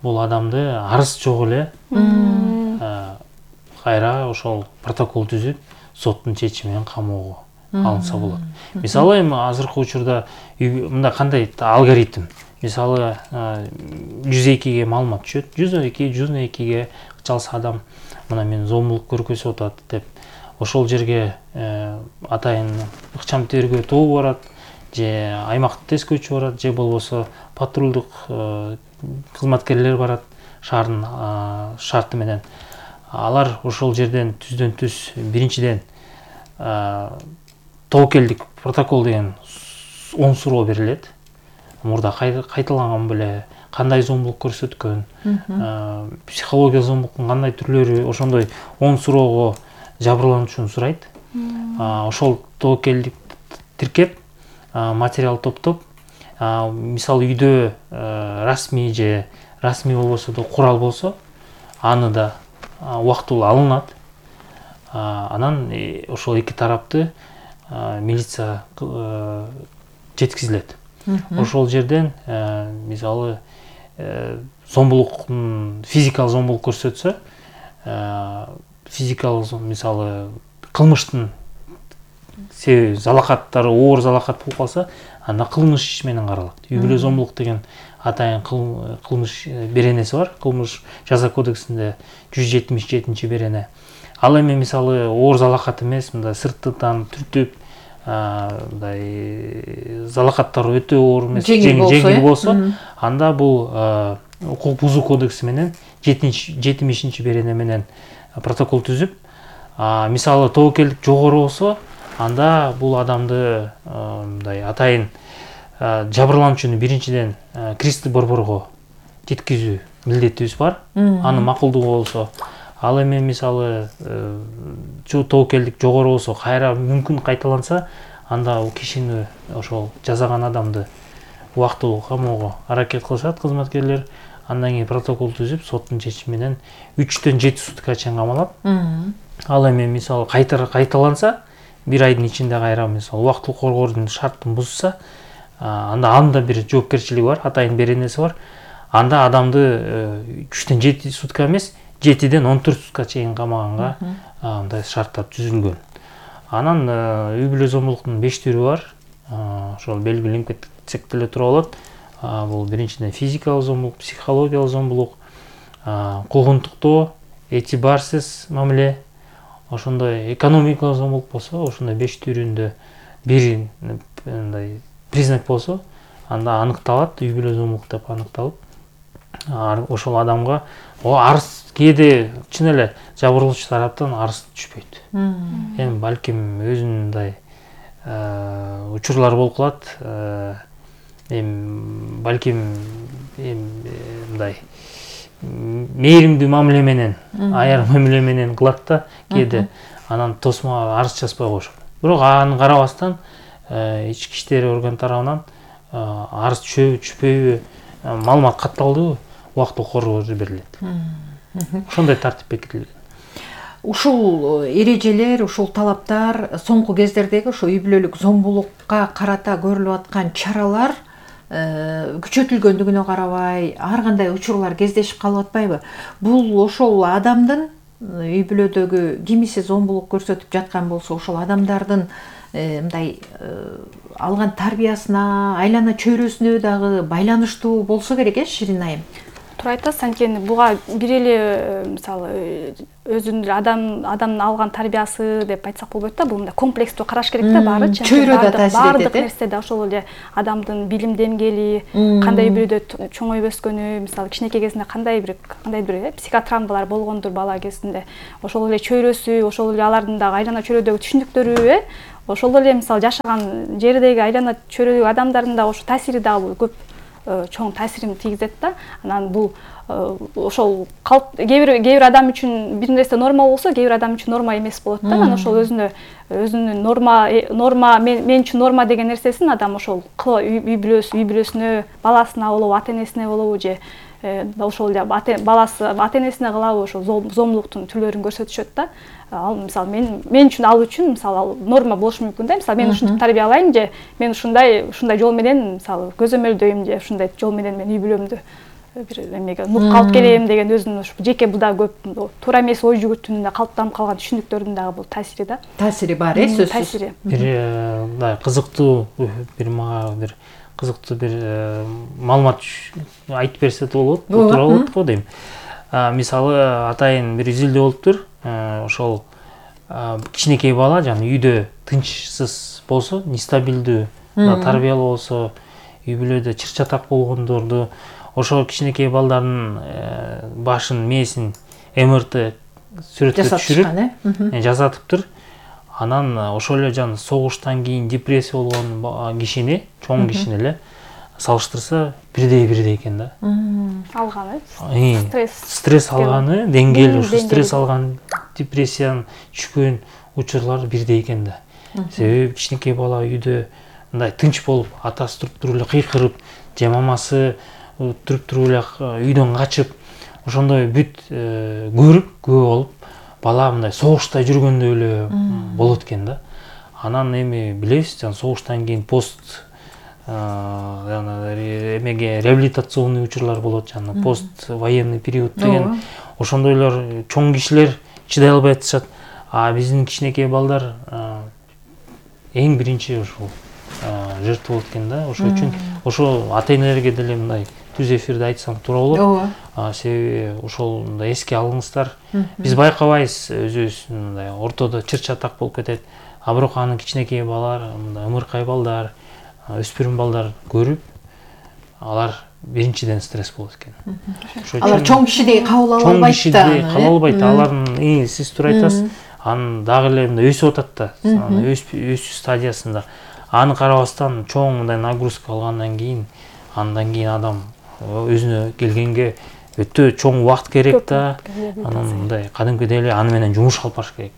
бул адамды арыз жок эле кайра ошол протокол түзүп соттун чечими менен камоого алынса болот. Мисалы эми азыркы учурда мындай кандай алгоритм. Мисалы жүз экиге маалымат түшөт. жүз эки, жүз экиге жалса адам мына мен зомбулук көргөзүп атат деп ошол жерге атайын ыкчам тергөө тобу барат, же аймактык тескөөчү барат, же болбосо патрулдук кызматкерлер барат шаардын шарты менен. Алар ошол жерден түздөн түз биринчиден тобокелдик протокол деген он суроо берилет. Мурда кайталанган беле, кандай зомбулук көрсөткөн, психология зомбулуктун кандай түрлөрү, ошондой он суроого жабырлануучуну сурайт. Ошол тобокелдик тиркеп, материал топтоп, мисалы үйдө расмий же расмий болбосо да курал болсо, аны да убактылуу алынат. Анан ошол эки тарапты милиция жеткизилет. Ошол жерден мисалы зомбулуктун физикалык зомбулук көрсөтсө, физикалык мисалы кылмыштын себеби залакаттары оор залакат болуп калса, анда кылмыш иш менен каралат. Үй бүлө зомбулук деген атайын кылмыш беренеси бар. Кылмыш жаза кодексинде жүз жетимиш жетинчи берене. Ал эми мисалы оор залакат эмес, мындай сырттан түртүп, мындай залакаттары өтө оор эмес, жеңил болсо, анда бул укук бузуу кодекси менен жетимишинчи берене менен протокол түзүп, мисалы тобокелдик жогору болсо, анда бул адамды мындай атайын жабырлануучуну биринчиден кристи борборго жеткизүү милдетибиз бар. Аны макулдугу болсо, ал эми мисалы тобокелдик жогору болсо, кайра мүмкүн кайталанса, анда кишини ошол жазаган адамды убактылуу камоого аракет кылышат кызматкерлер. Андан кийин протокол түзүп, соттун чечими менен үчтөн жети суткага чейин камалат. Ал эми мисалы кайталанса, бир айдын ичинде кайра мисалы убактылуу коргоодун шарттын бузса, анда анда бир жоопкерчилиги бар, атайын беренеси бар. Анда адамды үчтөн жети сутка эмес, жетиден он төрт сутка чейин камаганга мындай шарттар түзүлгөн. Анан үй бүлө зомбулуктун беш түрү бар. Ошол белгиленип кетсек деле тура болот. Бул биринчиден физикалык зомбулук, психологиялык зомбулук, куугунтуктоо, этибарсыз мамиле, ошондой экономикалык зомбулук болсо, ошондой беш түрүндө бир мындай признак болсо, анда аныкталат, үй бүлө зомбулук деп аныкталып, ошол адамга арыз кээде чын эле жабырлоочу тараптан арыз түшпөйт. Эми балким өзүнүн мындай учурлар болуп калат. Эми балким мындай мээримдүү мамиле менен, аяр мамиле менен кылат да кээде, анан тосмо арыз жазбай коюшат. Бирок аны карабастан ички иштер орган тарабынан арыз түшөбү, түшпөйбү, маалымат катталдыбы, убактылуу коргоо берилет. Ошондой тартип бекитилген. Ушул эрежелер, ушул талаптар соңку кездердеги ошо үй бүлөлүк зомбулукка карата көрүлүп аткан чаралар күчөтүлгөндүгүнө карабай, ар кандай учурлар кездешип калып атпайбы? Бул ошол адамдын үй бүлөдөгү кимиси зомбулук көрсөтүп жаткан болсо, ошол адамдардын мындай алган тарбиясына, айлана чөйрөсүнө дагы байланыштуу болсо керек, э, Ширин айым? Туура айтасыз, анткени буга бир эле мисалы өзүнүн эле адам адамдын алган тарбиясы деп айтсак болбойт да, бул мындай комплекстүү караш керек да, баары. Чөйрөдө таасир этет. Баардык нерсе да ошол эле адамдын билим деңгээли, кандай бирөөдө чоңоюп өскөнү, мисалы кичинекей кезинде кандай бир кандай бир психотравмалар болгондур бала кезинде, ошол эле чөйрөсү, ошол эле алардын дагы айлана чөйрөдөгү түшүндүктөрү, э, ошол эле мисалы жашаган жердеги айлана чөйрөдөгү адамдардын дагы ошо таасири дагы көп чоң таасирин тийгизет да. Анан бул ошол кээ бир кээ бир адам үчүн бир нерсе норма болсо, кээ бир адам үчүн норма эмес болот да. Анан ошол өзүнө өзүнүн норма норма мен үчүн норма деген нерсесин адам ошол үй бүлөсү, үй бүлөсүнө, баласына болобу, ата энесине болобу, же ошол эле баласы ата энесине кылабы, ошол зомбулуктун түрлөрүн көрсөтүшөт да. Ал мисалы мен мен үчүн ал үчүн мисалы ал норма болушу мүмкүн да. Мисалы мен ушинтип тарбиялайм, же мен ушундай ушундай жол менен мисалы көзөмөлдөйм, же ушундай жол менен мен үй бүлөмдү бир эмеге нукка алып келем деген өзүнүн ушу жеке бул дагы көп туура эмес ой жүгүртүүнүн калыптанып калган түшүнүктөрдүн дагы бул таасири да. Таасири бар, э, сөзсүз. Таасири. Бир мындай кызыктуу бир мага бир кызыктуу бир маалымат айтып берсе болот, бул тууралуу болот го дейм. Мисалы атайын бир изилдөө болуптур. Ошол кичинекей бала жана үйдө тынчсыз болсо, нестабилдүү тарбиялуу болсо, үй бүлөдө чыр-чатак болгондорду, ошол кичинекей балдардын башын, мээсин эм эр тэ сүрөткө түшүрүп жасатыптыр. Анан ошол эле жана согуштан кийин депрессия болгон кишини, чоң кишини эле салыштырса бирдей-бирдей экен да. Алганы, стресс. Стресс алганы, деңгээли ушу стресс алган, депрессияны түшкөн учурлар бирдей экен да. Себеби кичинекей бала үйдө мындай тынч болуп, атасы туруп туруп эле кыйкырып, же мамасы туруп туруп эле үйдөн качып, ошондой бүт көрүп, күбө болуп, бала мындай согушта жүргөндөй эле болот экен да. Анан эми билебиз, жана согуштан кийин пост жана эмеге реабилитационный учурлар болот, жана пост военный период деген ошондойлор чоң кишилер чыдай албай атышат. А биздин кичинекей балдар эң биринчи ушул жертва болот экен да. Ошол үчүн ошо ата-энелерге деле мындай түз эфирде айтсам туура болот. Себеби ошол мындай эске алыңыздар. Биз байкабайбыз, өзүбүз мындай ортодо чыр-чатак болуп кетет. А бирок анын кичинекей балдар, мындай ымыркай балдар, өспүрүм балдар көрүп, алар биринчиден стресс болот экен. Алар чоң кишидей кабыл ала албайт да. Чоң кишидей кабыл албайт. Алардын сиз туура айтасыз. Анын дагы эле мындай өсүп атат да, өсүү стадиясында. Аны карабастан чоң мындай нагрузка алгандан кийин, андан кийин адам өзүнө келгенге өтө чоң убакыт керек да. Анан мындай кадимкидей эле аны менен жумуш алып барыш керек.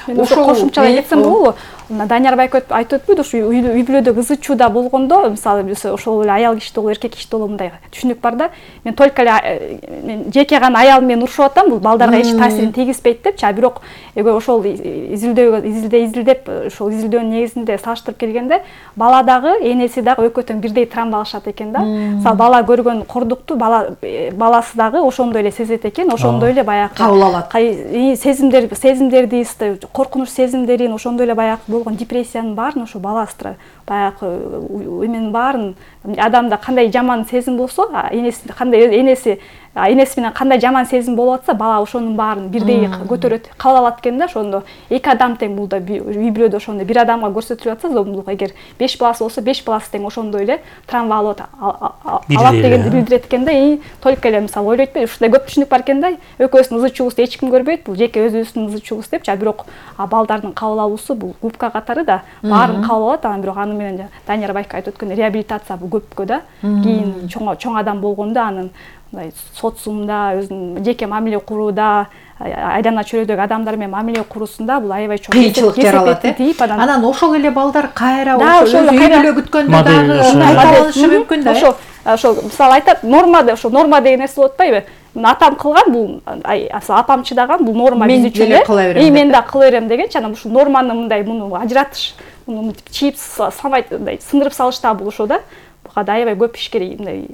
Ошо кошумчалай кетсем болобу? Данияр байке айтып өтпөйдү, ушу үй бүлөдө кызы чууда болгондо, мисалы биз ошол эле аял киши болобу, эркек киши болобу мындай түшүнүк бар да. Мен только эле мен жеке гана аялым менен урушуп атам, бул балдарга эч таасирин тийгизбейт депчи, а бирок ошол изилдөө изилде изилдеп, ошол изилдөөнүн негизинде салыштырып келгенде, бала дагы, энеси дагы экөө тең бирдей травма алышат экен да. Мисалы бала көргөн кордукту бала баласы дагы ошондой эле сезет экен, ошондой эле баягы кабыл алат. Сезимдер, сезимдерди, коркунуч сезимдерин, ошондой эле баягы болгон депрессиянын баарын ошо бала астра баягы эменин баарын адамда кандай жаман сезим болсо, энеси кандай энеси энеси менен кандай жаман сезим болуп атса, бала ошонун баарын бирдей көтөрөт, кабыл алат экен да. Ошондо эки адам тең бул да үй бүлөдө ошондой бир адамга көрсөтүлүп атса, зомбулук эгер беш баласы болсо, беш баласы тең ошондой эле травма алат алат дегенди билдирет экен да. И только эле мисалы ойлойт беле, ушундай көп түшүнүк бар экен да. Экөөбүздүн ызы чуубузду эч ким көрбөйт, бул жеке өзүбүздүн ызы чуубуз депчи, а бирок балдардын кабыл алуусу бул губка катары да баарын кабыл алат. Анан бирок аны менен Данияр байке айтып өткөн реабилитация бул көпкө да. Кийин чоң чоң адам болгондо анын мындай социумда өзүнүн жеке мамиле курууда, айдана чөйрөдөгү адамдар менен мамиле куруусунда бул аябай чоң кыйынчылык жаралат. Анан ошол эле балдар кайра ошол үй бүлө күткөндө дагы кабылышы мүмкүн да. Ошо ошол мисалы айтат, нормада ошо норма деген нерсе болуп атпайбы? Атам кылган бул, апам чыдаган бул норма биз үчүн эле. И мен да кыла берем дегенчи, анан ушул норманы мындай муну ажыратыш, муну чийип самайт мындай сындырып салыш да бул ошо да. Буга да аябай көп иш керек, мындай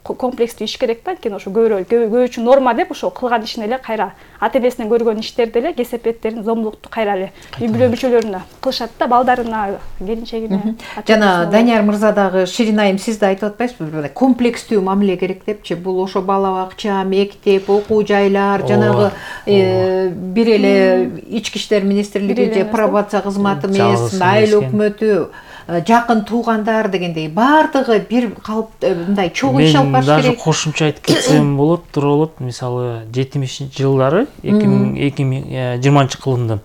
комплекстүү иш керек да. Анткени ошо көбүрөөк көбү үчүн норма деп ошо кылган ишин эле кайра ата-энесинен көргөн иштерди эле, кесепеттерин, зомбулукту кайра эле үй бүлө мүчөлөрүнө кылышат да, балдарына, келинчегине. Жана Данияр мырза дагы Ширин айым сиз да айтып атпайсызбы? Комплекстүү мамиле керек депчи. Бул ошо бала бакча, мектеп, окуу жайлар, жанагы бир эле ички иштер министрлиги же пробация кызматы эмес, айыл өкмөтү, жакын туугандар дегендей баардыгы бир калып мындай чогуу иш алып барыш керек. Мен даже кошумча айтып кетсем болот, туура болот. Мисалы жетимишинчи жылдары эки миң жыйырманчы кылымдан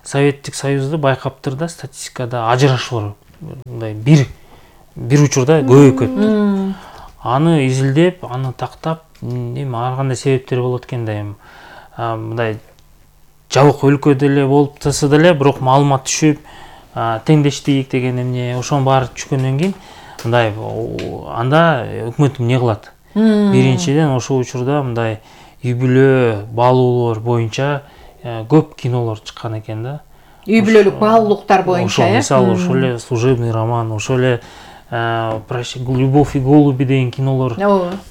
Советтик Союзда байкаптыр да, статистикада ажырашуулар мындай бир бир учурда көбөйүп кетти. Аны изилдеп, аны тактап, эми ар кандай себептер болот экен да, эми мындай жабык өлкөдө эле болуп турса деле, бирок маалымат түшүп, теңдештик деген эмне, ошонун баары түшкөндөн кийин мындай анда өкмөт эмне кылат? Биринчиден ошол учурда мындай үй бүлө баалуулар боюнча көп кинолор чыккан экен да. Үй бүлөлүк баалуулуктар боюнча, э? Мисалы ошол эле служебный роман, ошол эле Любовь и голуби деген кинолор.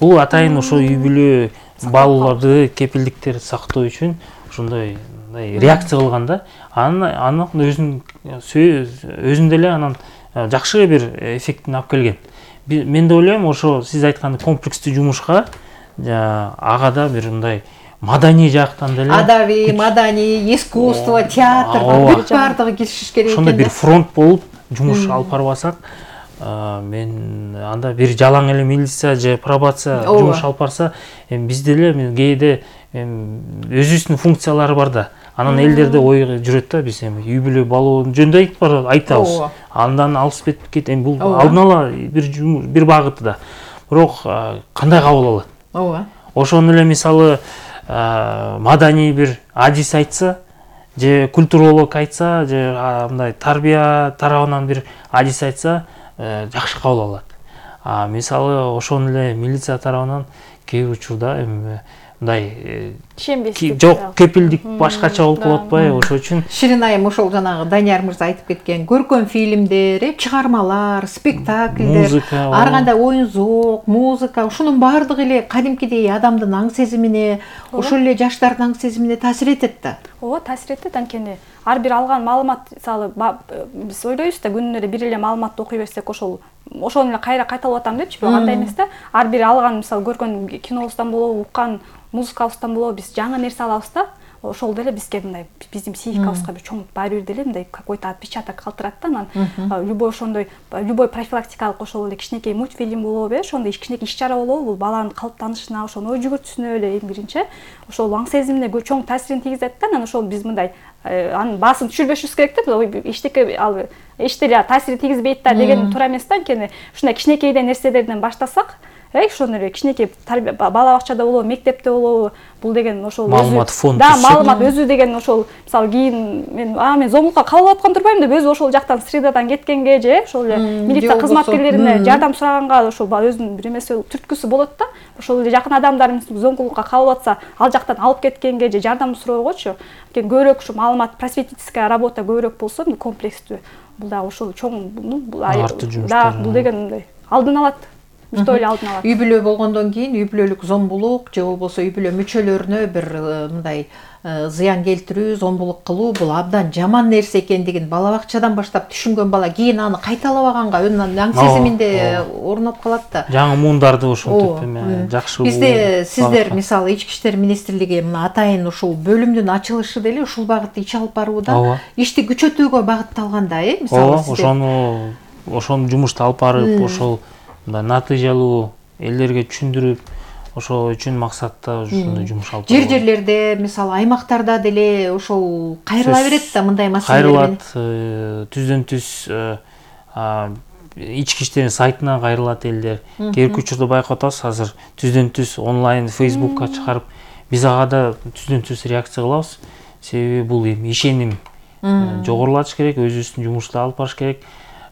Бул атайын ошо үй бүлө балаларды кепилдиктерди сактоо үчүн ошондой реакция кылган да. Анын өзүн өзүндө эле анан жакшы бир эффектин алып келген. Мен да ойлойм, ошо сиз айткандай комплекстүү жумушка ага да бир мындай маданий жактан деле адабий, маданий, искусство, театр бүт баардыгы киришиш керек экен. Ошондой бир фронт болуп жумуш алып барбасак, мен анда бир жалаң эле милиция же пробация жумуш алып барса, эми бизде эле кээде өзүбүздүн функциялары бар да. Анан элдерде ой жүрөт да, биз эми үй бүлө балоонун жөнүндө айтабыз. Андан алыс кетет. Эми бул алдын ала бир бир багыты да. Бирок кандай кабыл алат? Ооба. Ошону эле мисалы маданий бир адис айтса, же культуролог айтса, же мындай тарбия тарабынан бир адис айтса, жакшы кабыл алат. А мисалы ошону эле милиция тарабынан кээ бир учурда эми мындай ишенбестик жок, кепилдик башкача болуп калып атпайбы? Ошо үчүн Ширин айым ошол жанагы Данияр мырза айтып кеткен көркөм фильмдер, чыгармалар, спектакльдер, ар кандай оюн зоок, музыка, ушунун баардыгы эле кадимкидей адамдын аң сезимине, ошол эле жаштардын аң сезимине таасир этет да. Ооба, таасир этет. Анткени ар бир алган маалымат, мисалы биз ойлойбуз да, күнүнө эле бир эле маалыматты окуй берсек, ошол ошону эле кайра кайталап атам депчи, бирок андай эмес да. Ар бир алган, мисалы көргөн кинобуздан болобу, уккан музыкабыздан болобу, биз жаңы нерсе алабыз да. Ошол деле бизге мындай биздин психикабызга бир чоң баары бир деле мындай какой-то отпечаток калтырат да. Анан любой ошондой любой профилактикалык ошол эле кичинекей мультфильм болобу, ошондой кичинекей иш-чара болобу, бул баланын калыптанышына, ошонун ой жүгүртүүсүнө эле эң биринчи ошол аң сезимине чоң таасирин тийгизет да. Анан ошол биз мындай анын баасын түшүрбөшүбүз керек да. Эчтеке ал эч деле таасир тийгизбейт да деген туура эмес да. Анткени ушундай кичинекейден нерселерден баштасак, ошону эле кичинекей бала бакчада болобу, мектепте болобу, бул деген ошол маалымат фонд. Да, маалымат өзү деген ошол мисалы кийин мен а мен зомбулукка кабыл алып аткан турбаймын деп өзү ошол жактан средадан кеткенге же ошол эле милиция кызматкерлерине жардам сураганга ошол өзүнүн бир эмеси түрткүсү болот да. Ошол эле жакын адамдарыбыз зомбулукка кабыл атса, ал жактан алып кеткенге же жардам суроогочу. Анткени көбүрөөк ушу маалымат, просветительская работа көбүрөөк болсо, комплекстүү, бул дагы ошол чоң бул да, бул деген мындай алдын алат. Үй бүлө болгондон кийин үй бүлөлүк зомбулук же болбосо үй бүлө мүчөлөрүнө бир мындай зыян келтирүү, зомбулук кылуу бул абдан жаман нерсе экендигин бала бакчадан баштап түшүнгөн бала кийин аны кайталабаганга өнүн аң сезиминде орноп калат да. Жаңы муундарды ошентип эме жакшы. Бизде сиздер мисалы Ички иштер министрлиги мына атайын ушул бөлүмдүн ачылышы деле ушул багытта иш алып барууда, ишти күчөтүүгө багытталган да, э мисалы сиздер. Ошону ошону жумушту алып барып, ошол натыйжалуу элдерге түшүндүрүп, ошол үчүн максатта ушундай жумуш алып баруу. Жер-жерлерде, мисалы аймактарда деле ошол кайрыла берет да мындай маселелер. Кайрылат, түздөн-түз ички иштер сайтына кайрылат элдер. Кээ бир учурда байкап атабыз, азыр түздөн-түз онлайн Facebookка чыгарып, биз ага да түздөн-түз реакция кылабыз. Себеби бул эми ишеним жогорулатыш керек, өзүбүздүн жумушту алып барыш керек.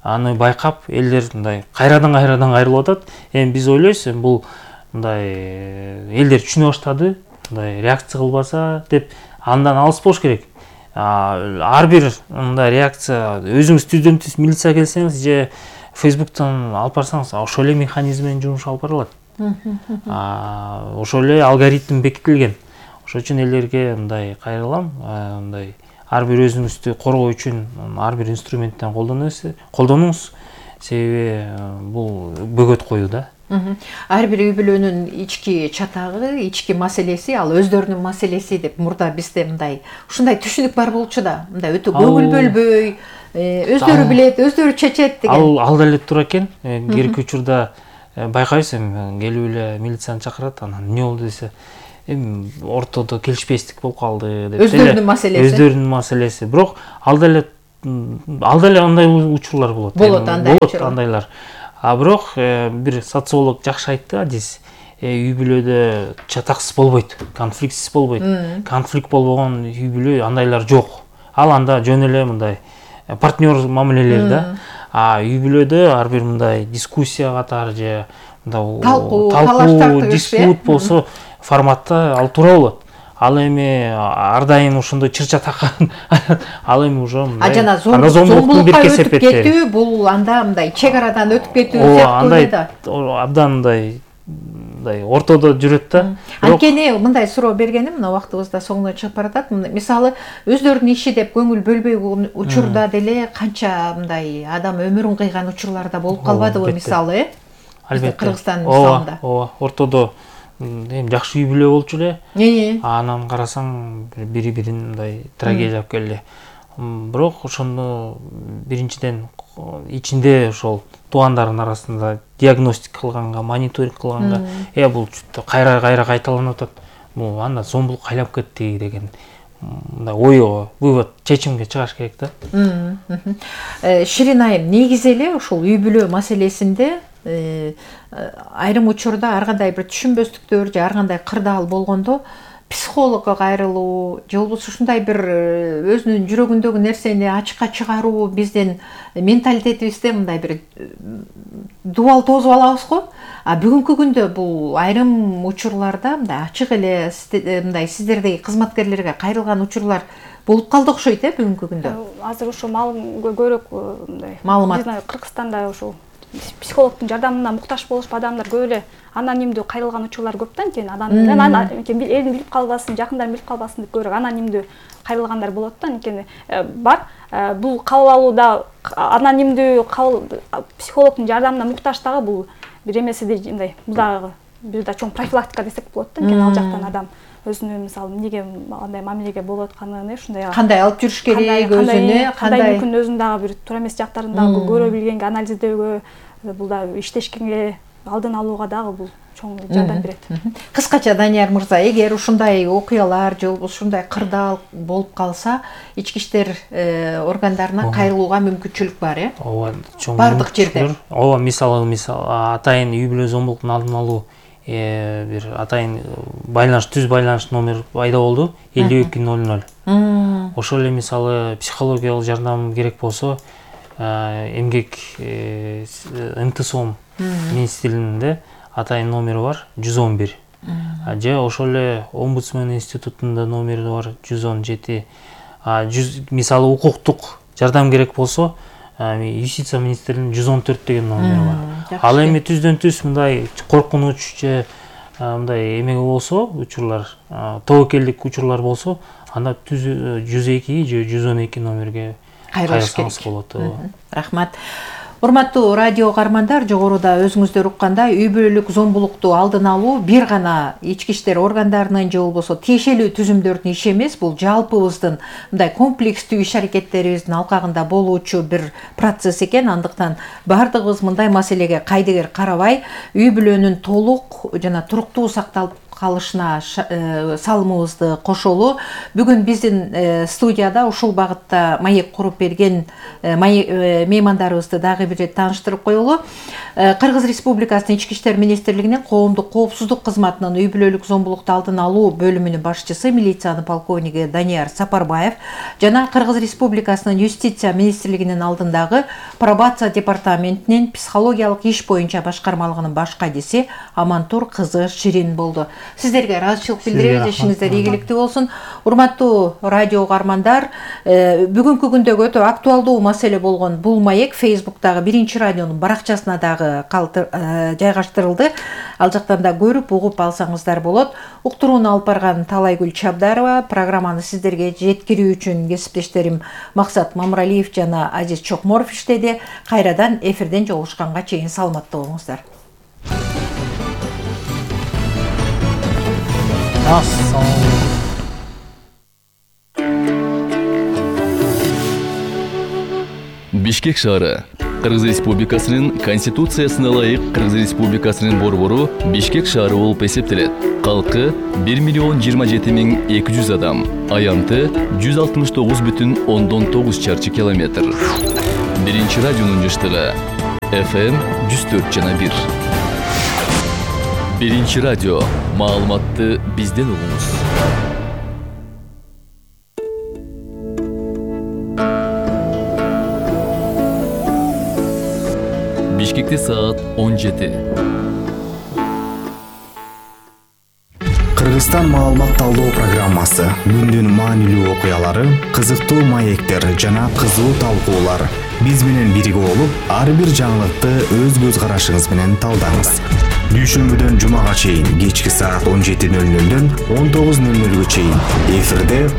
Аны байкап элдер мындай кайрадан кайрадан кайрылып атат. Эми биз ойлойбуз, эми бул мындай элдер түшүнө баштады, мындай реакция кылбаса деп андан алыс болуш керек. Ар бир мындай реакция өзүңүз түздөн-түз милиция келсеңиз же Facebooktан алып барсаңыз, ошол эле механизм менен жумуш алып барылат. Ошол эле алгоритм бекитилген. Ошол үчүн элдерге мындай кайрылам, мындай ар бир өзүңүздү коргоо үчүн ар бир инструменттен колдонуңуз, себеби бул бөгөт коюу да. Ар бир үй бүлөнүн ички чатагы, ички маселеси, ал өздөрүнүн маселеси деп мурда бизде мындай ушундай түшүнүк бар болчу да. Мындай өтө көңүл бөлбөй, өздөрү билет, өздөрү чечет деген. Ал деле туура экен. Керки учурда байкайсыз, эми келип эле милицияны чакырат, анан эмне болду десе, эми ортодо келишпестик болуп калды деп. Өздөрүнүн маселеси. Өздөрүнүн маселеси. Бирок ал деле ал деле андай учурлар болот. Болот андай учурлар. Андайлар. А бирок бир социолог жакшы айтты, адис. Үй бүлөдө чатаксыз болбойт, конфликтсиз болбойт. Конфликт болбогон үй бүлө андайлар жок. Ал анда жөн эле мындай партнер мамилелер да. А үй бүлөдө ар бир мындай дискуссия катары же мындай талкуу, талкуу, диспут болсо форматта ал туура болот. ал эми ар дайым ошондой чырча таккан ал эми уже а жана зомбулукка өтүп кетүү бул анда мындай чек арадан өтүп кетүү сыяктуу эле да абдан мындай мындай ортодо жүрөт да. Анткени мындай суроо бергеним мына убактыбыз да соңуна чыгып баратат. Мисалы өздөрүнүн иши деп көңүл бөлбөй учурда деле канча мындай адам өмүрүн кыйган учурлар да болуп калбадыбы мисалы, э? Албетте. Кыргызстандын мисалында. Ооба, ортодо эми жакшы үй бүлө болчу эле. Анан карасаң бири-бирин мындай трагедия алып келди. Бирок ошондо биринчиден ичинде ошол туугандардын арасында диагностика кылганга, мониторинг кылганга, э бул кайра-кайра кайталанып атат. Бул анда зомбулук кайлап кетти деген мындай ойго, вывод, чечимге чыгаш керек да. Ширин айым, негизи эле ушул үй бүлө маселесинде айрым учурда ар кандай бир түшүнбөстүктөр же ар кандай кырдаал болгондо психологко кайрылуу же болбосо ушундай бир өзүнүн жүрөгүндөгү нерсени ачыкка чыгаруу биздин менталитетибизде мындай бир дубал тосуп алабыз го. А бүгүнкү күндө бул айрым учурларда мындай ачык эле мындай сиздердеги кызматкерлерге кайрылган учурлар болуп калды окшойт, э, бүгүнкү күндө. Азыр ошо маалым көбүрөөк мындай маалымат. Биздин Кыргызстанда ошол психологдун жардамына муктаж болушуп адамдар көп эле анонимдүү кайрылган учурлар көп да, анткени адам элин билип калбасын, жакындарын билип калбасын деп көбүрөөк анонимдүү кайрылгандар болот да. Анткени бар бул кабыл алууда анонимдүү психологдун жардамына муктаж дагы бул бир эмеси мындай бул дагы бир да чоң профилактика десек болот да. Анткени ал жактан адам өзүнүн мисалы эмнеге андай мамилеге болуп атканын, ушундай кандай алып жүрүш керек, өзүнө кандай мүмкүн өзүнүн дагы бир туура эмес жактарын дагы көрө билгенге, анализдөөгө, бул да иштешкенге, алдын алууга дагы бул чоң жардам берет. Кыскача Данияр мырза, эгер ушундай окуялар же болбосо ушундай кырдаал болуп калса, ички иштер органдарына кайрылууга мүмкүнчүлүк бар, э? Ооба, чоң бардык жерде. Ооба, мисалы, мисалы атайын үй бүлө зомбулуктун алдын алуу бир атайын байланыш, түз байланыш номер пайда болду, элүү эки ноль ноль. Ошол эле мисалы психологиялык жардам керек болсо, эмгек МТСОМ министрлигинде атайын номери бар, жүз он бир. Же ошол эле омбудсмен институтунда номери бар, жүз он жети. Мисалы укуктук жардам керек болсо, юстиция министрлигинин жүз он төрт деген номери бар. Ал эми түздөн түз мындай коркунуч же мындай эмеге болсо, учурлар, тобокелдик учурлар болсо, анда жүз эки же жүз он эки номерге кайрылсаңыз болот. Рахмат. Урматтуу радио каармандар, жогоруда өзүңүздөр уккандай үй бүлөлүк зомбулукту алдын алуу бир гана ички иштер органдарынын же болбосо тиешелүү түзүмдөрдүн иши эмес, бул жалпыбыздын мындай комплекстүү иш аракеттерибиздин алкагында болуучу бир процесс экен. Андыктан бардыгыбыз мындай маселеге кайдыгер карабай, үй бүлөнүн толук жана туруктуу сакталып калышына салымыбызды кошолу. Бүгүн биздин студияда ушул багытта маек куруп берген меймандарыбызды дагы бир тааныштырып коелу. Кыргыз Республикасынын Ички иштер министрлигинин коомдук коопсуздук кызматынын үй бүлөлүк зомбулукту алдын алуу бөлүмүнүн башчысы, милициянын полковниги Данияр Сапарбаев жана Кыргыз Республикасынын Юстиция министрлигинин алдындагы пробация департаментинин психологиялык иш боюнча башкармалыгынын баш кадиси Амантур кызы Ширин болду. Сиздерге ыраазычылык билдиребиз, ишиңиздер ийгиликтүү болсун. Урматтуу радио каармандар, бүгүнкү күндөгү өтө актуалдуу маселе болгон бул маек Фейсбуктагы биринчи радионун баракчасына дагы жайгаштырылды. Ал жактан да көрүп, угуп алсаңыздар болот. Уктурууну алып барган Талайгүл Чабдарова, программаны сиздерге жеткирүү үчүн кесиптештерим Максат Мамралиев жана Азиз Чокморов иштеди. Кайрадан эфирден жолугушканга чейин саламатта болуңуздар. Бишкек шаары Кыргыз Республикасынын Конституциясына ылайык Кыргыз Республикасынын борбору Бишкек шаары болуп эсептелет. Калкы бир миллион жыйырма жети миң эки жүз адам, аянты жүз алтымыш тогуз бүтүн ондон тогуз чарчы километр. Биринчи радионун жыштыгы эф эм жүз төрт жана бир. Биринчи радио, маалыматты бизден угуңуз. Бишкекте саат он жети. Кыргызстан маалымат талдоо программасы, күндүн маанилүү окуялары, кызыктуу маектер жана кызуу талкуулар. Биз менен бирге болуп, ар бир жаңылыкты өз көз карашыңыз менен талдаңыз. Дүйшөмбүдөн жумага чейин кечки саат он жети нөл нөлдөн он тогуз нөл нөлгө чейин эфирде